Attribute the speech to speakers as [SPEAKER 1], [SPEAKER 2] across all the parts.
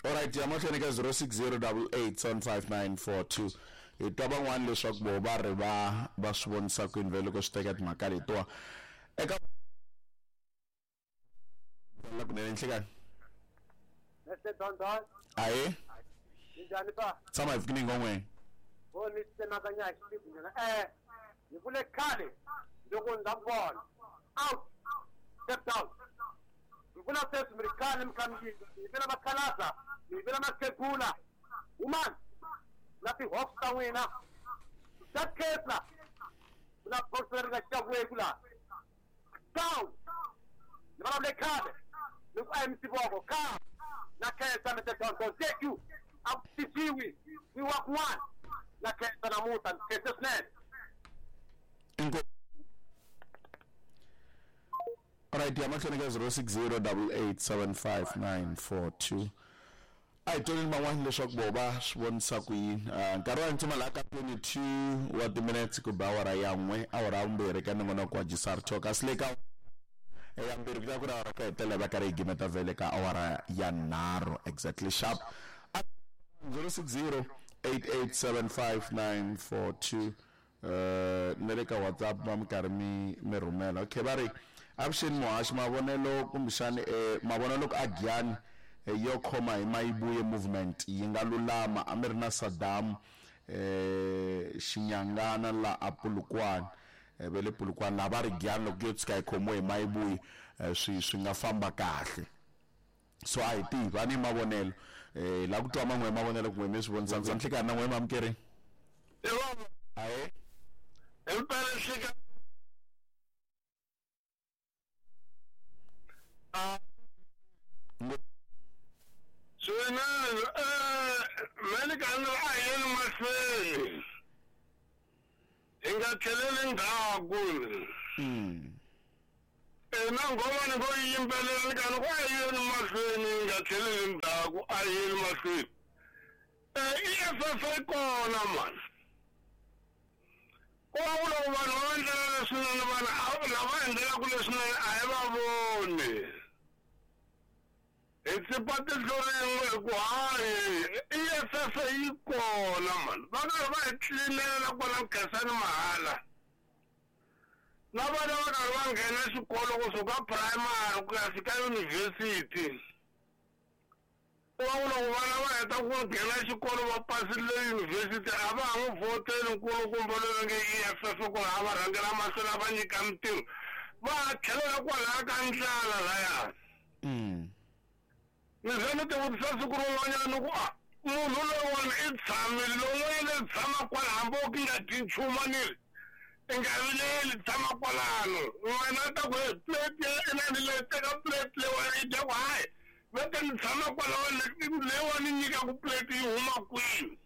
[SPEAKER 1] Alright, ya mahlweni ka 0608875942 hi twa van'wani leswaku vo va ri va va swi vonisa kwini vhele loko swi teka timhaka letiwa eka la kunene nhlekani.
[SPEAKER 2] Mr. Don.
[SPEAKER 1] Aye.
[SPEAKER 2] Minjhani pa?
[SPEAKER 1] Tshama hi fikini ngon'we.
[SPEAKER 2] Vo ni tsemakanya hi xitiku nyana. Hi vule khale loko ndza ku vona. Out. Step down. Hi vula sweswi mi ri khale mi kha mi yimba. Mi yivela makhalabya, mi yivela makhegula. Woman, na ti-hawks ta n'wina. That case la. Ku na box leri nga xaviweku laha. Down. Ni vulavule khale. Ni ku a hi misivoko. Khale. Na khensa Mr. Don Don. Thank you. A ku tisiwi. We work one. Na khensa namuntlha. Ni khense swinene.
[SPEAKER 1] Inkomu. Alright, ya mahlweni ka 0608875942. A hi toleni van'wana leswaku vo va swi vonisa ku yini. Nkarhi wa ntima laha ka 22 wa timinetse ku ba awara ya n'we, awara ya vumbirhi ka nongonoko wa Jisar Talk. Kasi le ka ya mbirhi ku ta ku ri awara ku hetelela va karhi yi gimeta vhele ka awara ya nharhu exactly sharp. 0608875942 na le ka WhatsApp va mi karhi mi mi rhumela. Okay, va ri avuxeni muhaxi mavonelo kumbexani mavonelo ku a Giyani yo khoma hi Mayibuye movement yi nga lulama a mi ri na Saddam Xinyangana la a Polokwane ve le Polokwane laha va ri Giyani loko yo tshuka yi khomiwe hi Mayibuye swi swi nga famba kahle. So a hi tivi a ni mavonelo la ku twa man'we mavonelo kun'we mi swi vonisa ndza nhlekani na n'we mamukeri. Ahe.
[SPEAKER 3] Himpela nhlekani. Swinene me ni ka ni ri a hi yeni mahlweni hi nga tlheleli ndzhaku. Na nghoma ni ngo yi yimbelela ni ka ni ku a hi yeni mahlweni hi nga tlheleli ndzhaku a hi yeni mahlweni. EFF yi kona mani. Ku va ku loko vanhu va endlela leswinene vanhu lava endlelaka leswinene a hi va voni. Hi tsipa tihlo rin'we hi ku hayi EFF yi kona mani. Va karhi va hi tlilinela kwala Nkhensani mahala. Na vana va karhi va nghena xikolo kusuka primary ku ya fika yunivhesiti. Ku va ku loko vana va heta ku nghena xikolo va pasile yunivhesiti a va ha n'wi vhoteli nkulukumba loyi va nge EFF ku ri a va rhangela mahlweni a va nyika mintirho. Va ha tlhelela kwalaya ka ndlala laya. Ni ze ni tivutisa siku rin'wanyana ni ku a munhu loyiwani i tshamile lowun'wanyana i tshama kwala hambi o ki nga dyi nchumu a ni ri i nga vileli tshama kwalano n'wana a ta ku he plate ya inani leyi teka plate leyiwani i dya ku hayi va ta ni tshama kwalaho leyiwani nyikaku plate yi huma kwini.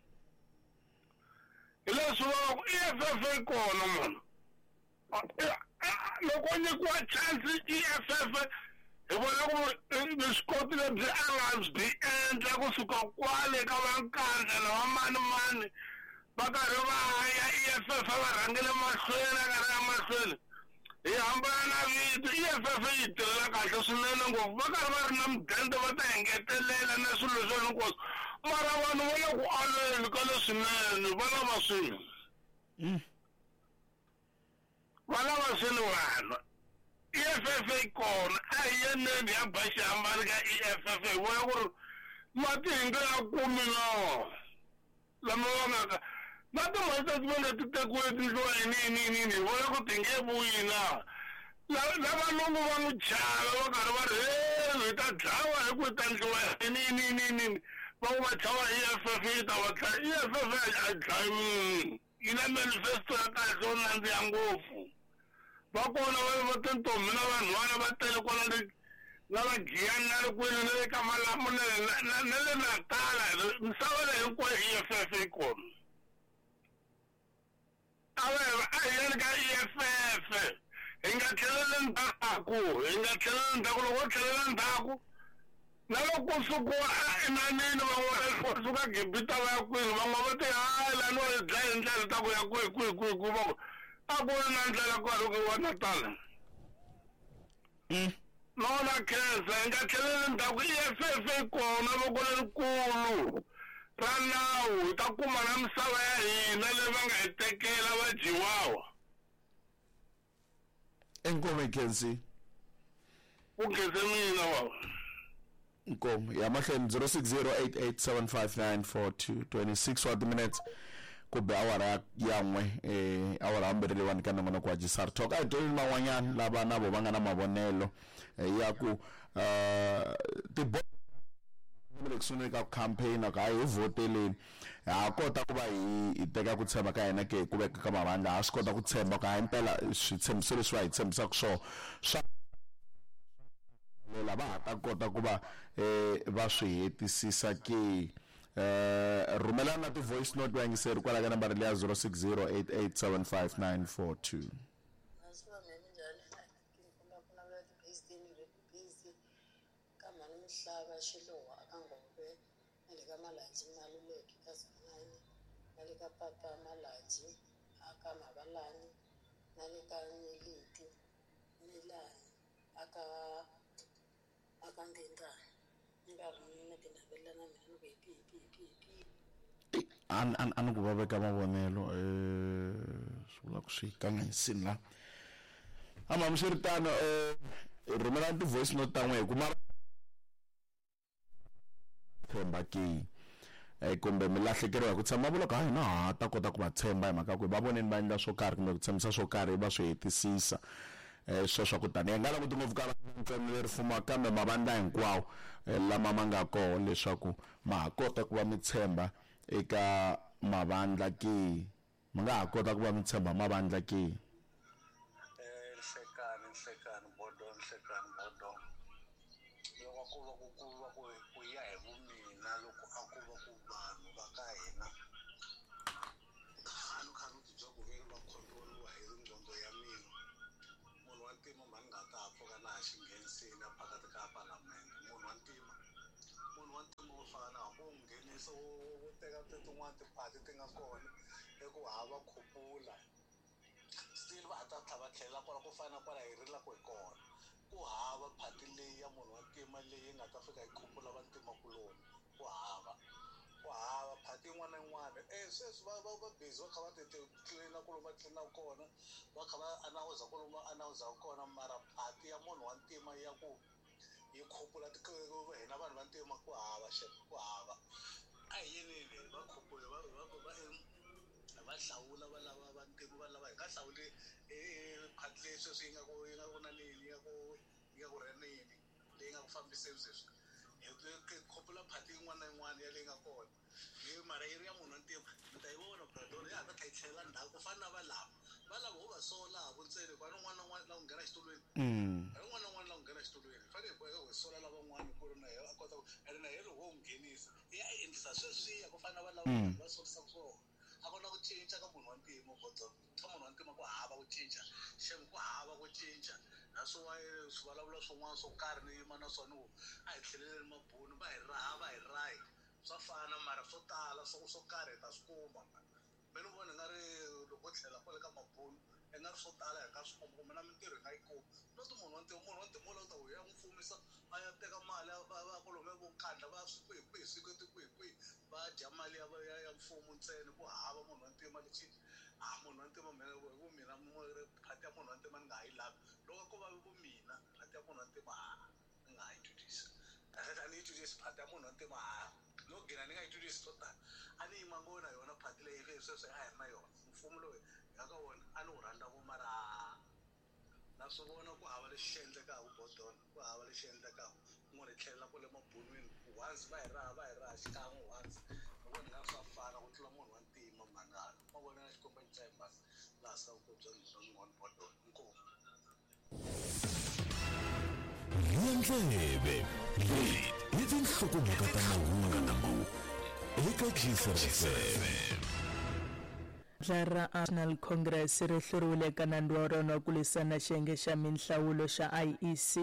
[SPEAKER 3] Hi leswi va va ku EFF yi kona munhu. Loko o nyikiwa chance EFF hi vona ku vuswikoti lebyi a nga byi endla kusuka kwale ka va Nkandla na va mani mani va karhi va ya EFF va rhangele mahlweni a karhi ya mahlweni hi hambana na vito EFF yi tirhela kahle swinene ngopfu va karhi va ri na mudende va ta engetelela na swilo leswi hinkwaswo mara vanhu va le ku aleni ka leswinene va lava swilo. Va lava swilo vanhu. EFF yi kona a hi yeneni ya ba xihambano ka EFF hi vona ku ri mati hi nga ya kumi no lama va nga ka na timali ta va nga ti tekiwe tindluwa yini yini yini yini hi vona ku ti nge vuyi na lavalungu va n'wi chava va karhi va ri he hi ta dlawa hi ku hi ta ndliwa yini yini yini yini va ku va chava EFF yi ta va dlaya EFF a yi dlayi munhu yi na manifesto ya kahle yo nandziha ngopfu. Va kona va va tintombi na vanhwana va tele kwala le na va Giyani na le kwini na le ka Malamulele na na le Natala misava leyi hinkwayo EFF yi kona. A va a hi yeni ka EFF hi nga tlheleli ndzhaku hi nga tlheleli ndzhaku loko ho tlhelela ndzhaku na loko ku sukiwa enanini van'wana va suka Gibita va ya kwini van'wana va te hayi lani wa hi dlaya hi ndlela ta ku ya kwihi kwihi kwihi kwihi va ku a ku ri na ndlela ku karhi ku yiwa Natala. No na khensa hi nga tlheleli ndzhaku EFF yi kona voko lerikulu ra nawu hi ta kuma na misava ya hina leyi va nga hi tekela va dyiwawa.
[SPEAKER 1] Inkomu hi khensi.
[SPEAKER 3] Ku khense mina baba.
[SPEAKER 1] Inkomu ya mahlweni 0608875942 26 wa timinutes ku be awara ya n'we eh awara ya mbirhi leyiwani ka nongonoko wa Jisar Talk a hi tweleni van'wanyana lava na vo va nga na mavonelo eh, ya ku eh tibo le ku sunguleni ka ku campaign ku hayi hi vhoteleni ha kota ku va hi teka ku tshemba ka hina ke ku veka ka mavandla ha swi kota ku tshemba ku hayi mpela switshembiso leswi va hi tshembisaka swona swa lela va ha ta kota ku va va swi hetisisa ke rhumelani na ti-voice note vayingiseri kwala ka nambara leya 0608875942
[SPEAKER 4] Ka mhani Mihlava Xiluva aka Ngove na le ka Malanji Maluleke ka Zanani na le ka papa Malanji aka Mavalani na le ka Nyeleti Milani aka aka Ndindani ni karhi ni ti navelela na mina ni ku hi pi hi pi hi pi hi pi.
[SPEAKER 1] A ni a ni ku va veka mavonelo swi vula ku swi kanganyisini la kambe hambiswiritano rhumelani ti-voice note ta n'we hi ku mara tshemba ke kumbe mi lahlekeriwa hi ku tshemba vula ku hayi na ha ta kota ku va tshemba hi mhaka ku va voneni va endla swo karhi kumbe ku tshembisa swo karhi va swi hetisisa sweswo ku tani hi nga languti ngopfu ka ntsena leri fumaka kambe mavandla hinkwawo lama ma nga koho leswaku ma ha kota ku va mi tshemba eka mavandla ke Mi nga ha kota ku va mi tshemba mavandla ke?
[SPEAKER 5] Nhlekani, nhlekani, bodo, nhlekani, bodo. Loko a ku va ku ku va ku ku ya hi vumina loko a ku va ku vanhu va ka hina a ni kha ni tibya ku ve va control-iwa hi nqondo ya mina munhu wa ntima mhani nga ta ha pfuka na ha xi nghenisile a phakathi ka palamende munhu wa ntima munhu wa ntima wo fana hambi wo n'wi nghenisa wo wo teka tin'wani tiphati ti nga kona i ku hava khupula still va ha ta tlhela va tlhelela kwala ku fana na kwala hi rilaka hi kona ku hava phati leyi ya munhu wa ntima leyi nga ta fika yi khupula vantima kuloni ku hava ku hava phati yin'wana na yin'wana e sweswi va va va busy va kha va ti ti tlilina ku lomu va tlilinaka kona va kha va anawuza ku lomu va anawuzaka kona mara phati ya munhu wa ntima ya ku yi khupula hina vanhu vantima ku hava xem ku hava a hi yeneni va khupule va va va va hlawula va lava vantima va lava hi nga hlawuli phati leyi sweswi yi nga ku yi nga ku na nini yi nga ku yi nga ku rheneni leyi nga ku fambiseni sweswi hi khupula phati yin'wana na yin'wana ya leyi nga kona yi mara yi ri ya munhu wa ntima mi ta yi vona bradona ya ha ta tlhela yi tlhelela ndzhaku ku fana na valava valava ho va sola ha ku ntsena hikuva ni un'wana na un'wana la ku nghena xitulwini ni un'wana na un'wana la ku nghena xitulwini hi fanele hi boheka ku hi sola lavan'wana ku ri na yena a kota ku ene na yena loko wo n'wi nghenisa i ya endlisa sweswiya ku fana na valava va solisaka swona a ku na ku cinca ka munhu wa ntima bodo ka munhu wa ntima ku hava ku cinca xem ku hava ku cinca that's why swi vulavula swin'wana swo karhi ni yima na swona ku a hi tlheleleni mabunu va hi raha va hi rahi swa fana mara swo tala swo swo karhi hi ta swi kuma me ni vona i nga ri loko ho tlhela kwale ka mabunu i nga ri swo tala hi nga swi kuma kumbe na mintirho hi nga yi kuma not munhu wa ntima munhu wa ntima wo lava ku ta ku ya n'wi fumisa a ya teka mali ya va va kwalomuya vo nkandla va swi kwihi kwihi swi kwihi kwihi va dya mali ya ya ya mfumo ntsena ku hava munhu wa ntima lexi a munhu wa ntima mina hi ku mina phati ya munhu wa ntima ni nga ha yi lavi loko ko va ku mina phati ya munhu wa ntima ha ni nga ha yi twisisi kahlekahle a ni yi twisisi phati ya munhu wa ntima ha no gina ni nga yi twisisi swo tala a ni yima ngopfu na yona phati leyi sweswi a hi ri na yona mfumo lowu hi nga ka wona a ni wu rhandza ngopfu mara na swi vona ku hava lexi xi endlekaka bodon ku hava lexi endlekaka kun'wana hi tlhelela kwale mabunwini once va hi raha va hi raha xikan'we once ni vona nga swa fana ku tlula munhu wa ntima mhangani ma vona na xikwembu xa mhani laha sa ku bya bya n'wana bodon inkomu
[SPEAKER 6] Rhiya ndleve leyi i tinhlokomhaka ta mahungu eka Gcr FM.
[SPEAKER 7] Vandla ra National Congress ri hluriwile eka nandzu wa rona wa ku lwisana na xiyenge xa minhlawulo xa IEC.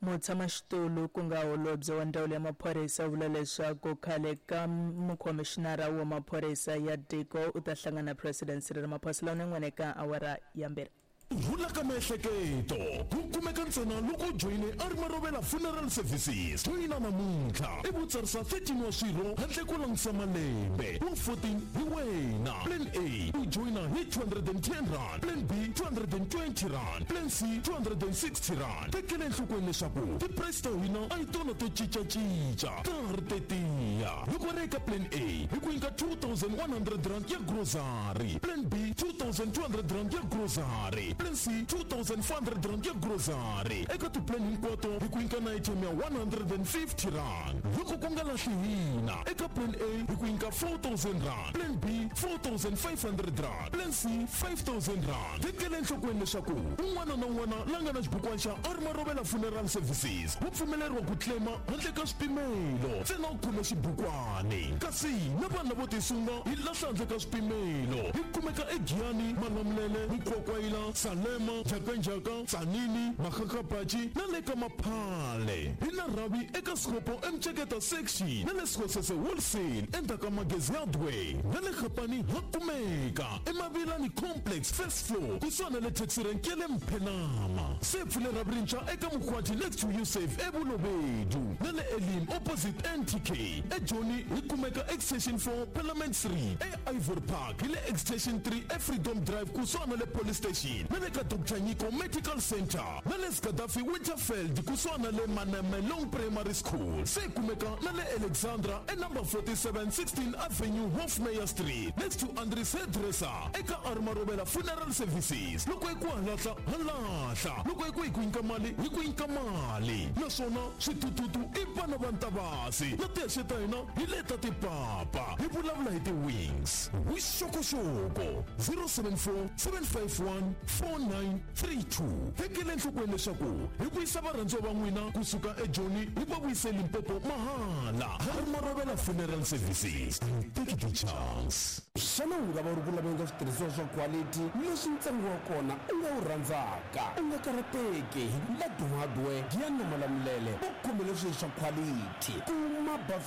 [SPEAKER 7] Mutshamaxitulu ku nga holobye wa ndzawulo ya maphorisa u vula leswaku khale ka mukhomixinara wa maphorisa ya tiko u ta hlangana na President Cyril Ramaphosa Lavun'wana eka awara ya mbirhi.
[SPEAKER 6] Ku rhula ka miehleketo ku. kumeka ntsena loko u joyine a ri Marovela Funeral Services. Joyina namuntlha i vutsarisa 13 wa swirho handle ko langutisa malembe. Wa 14 hi wena. Plan A u joyina hi 210 rand, Plan B 220 rand, Plan C 260 rand. Tekela enhlokweni leswaku ti-price ta hina a hi tona to cincacinca, ta ha ri tetiya. Loko ri eka Plan A hi ku nyika 2100 rand ya grocery, Plan B 2200 rand ya grocery, Plan C 2400 rand ya grocery. Eka ti-plan hinkwato hi ku nyika na item ya 150 rand. Loko ku nga lahli hina, eka Plan A hi ku nyika 4000 rand, Plan B 4500 rand, Plan C 5000 rand. Tekela enhlokweni leswaku un'wana na un'wana la nga na xibukwana xa Armarovela Funeral Services wu pfumeleriwa ku claima handle ka swipimelo, ntsena u khome xibukwani. Kasi na vanhu lavo tisunga hi lahla handle ka swipimelo. Hi kumeka eGiyani, Malamulele, Mukwakwayila, Salema, Njhakanjhaka, Tsanini, Makgakgabatshi na le ka Maphale. Hi na rhavi eka Sikopo eMceketa section na le Sekgosese wholesale endzhaku ka Magezi Hardware, na le Gapani ha kumeka eMavilani Complex first floor kusuhana na le taxi rank ya le Mphenama. Se pfule rhavi rintshwa eka Mkhwati next to Usave eBulobedu, na le Elim opposite NTK. eJoni hi kumeka extension 4 Parliament Street, eIvory Park hi le extension 3 eFreedom Drive kusuhana na le police station, na le ka Dr Nyiko Medical Center, na le Skadafi Winterfeld kusuhana na le Manamelong Primary School. Se kumeka na le Alexandra e number 47 16 Avenue Hofmeyer Street next to Andries Hairdresser. Eka Armarovela Funeral Services, loko hi ku halahla halahla, loko hi ku hi ku nyika mali hi ku nyika mali. Naswona switututu i vana va Ntavasi, na tihexe ta hina hi leta tipapa. Hi vulavula hi ti-wings. Vuxokoxoko 074 751 4932. Tekela enhlokweni leswaku hi vuyisa varhandziwa va n'wina kusuka eJoni hi va vuyise Limpopo mahala. Armarovela Funeral Services, take the chance.
[SPEAKER 8] Xana u nga va u ri ku laveni ka switirhisiwa swa quality leswi ntsengo wa kona u nga wu rhandzaka? U nga karhateki, hi Ladu Hardware Giyani na Malamulele va khomele swilo swa quality. Kuma